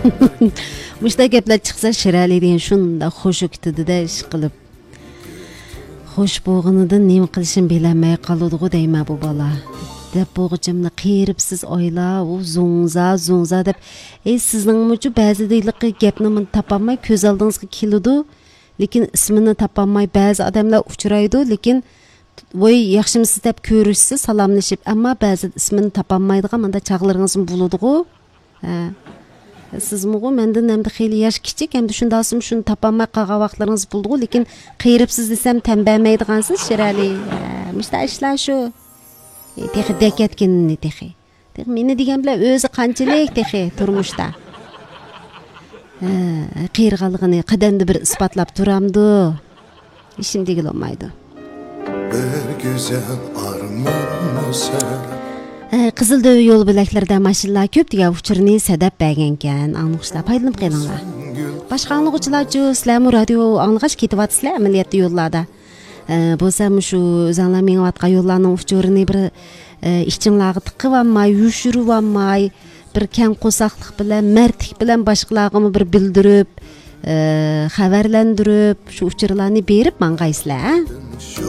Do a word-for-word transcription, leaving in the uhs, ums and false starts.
مۇشۇنداق گەپلەر چىقسا، شىرئەلى دېگەن شۇنداق خۇشۇ كېتىدۇ-دە، ئىشقىلىپ. خوش بولغىنىدىن نېمە قىلىشىنى بىلەلمەي قالىدىغۇ دەيمەن بۇ بالا. دەپ بولغۇچە مانا قېرىپسىز ئايلا، ئۇ زوڭزا، زوڭزا دەپ. ئەي، سىزنىڭمۇچۇ بەزىدە ھېلىقى گەپنى مانا تاپالماي كۆز ئالدىڭىزغا كېلىدۇ، لېكىن ئىسمىنى تاپالماي بەزى ئادەملەر ئۇچرايدۇ، لېكىن ۋوي، ياخشىمۇسىز دەپ كۆرۈشسە سالاملىشىپ، ئەمما بەزىدە ئىسمىنى تاپالمايدىغان مانداق چاغلىرىڭىزمۇ بولىدىغۇ. ھە. سىزمۇغۇ مەندىن ئەمدى خېلى ياش كىچىك، ئەمدى شۇنداقسىمۇ شۇنى تاپالماي قالغان ۋاقىتلىرىڭىز بولىدىغۇ، لېكىن قېرىپسىز دېسەم تەن بەرمەيدىغانسىز، شىرئەلى. ھە، مۇشۇنداق ئىشلار شۇ. ئى، تېخى دەكەتكىنىنى تېخى. تېخى مېنى دېگەن بىلەن ئۆزى قانچىلىك تېخى تۇرمۇشتا. ھە، قېرىغانلىقىنى قەدەمدە بىر ئىسپاتلاپ تۇرامدۇ؟ ئىشىم دېگىلى بولمايدۇ. بىر گۈزەل ئارمانمۇ سەن. ئە، قىزىل دۆۋە يول بۆلەكلىرىدە ماشىنىلار كۆپ دېگەن ئۇچۇرنى سەدەپ بەرگەنكەن. ئاڭلىغۇچىلار پايدىلىنىپ قېلىڭلار. باشقا ئاڭلىغۇچىلارچۇ، سىلەرمۇ رادىيو ئاڭلىغاچ كېتىۋاتىسىلەر ئەمەلىيەتتە يوللاردا. ئە، بولسا مۇشۇ ئۆزەڭلار مېڭىۋاتقان يوللارنىڭ ئۇچۇرىنى بىر، ئە، ئىچىڭلارغا تىقىۋالماي، يوشۇرۇۋالماي، بىر كەڭ قورساقلىق بىلەن، مەردلىك بىلەن باشقىلارغىمۇ بىر بىلدۈرۈپ، ئە، خەۋەرلەندۈرۈپ، شۇ ئۇچۇرلارنى بېرىپ ماڭغايسىلەر، ھە؟ شۇ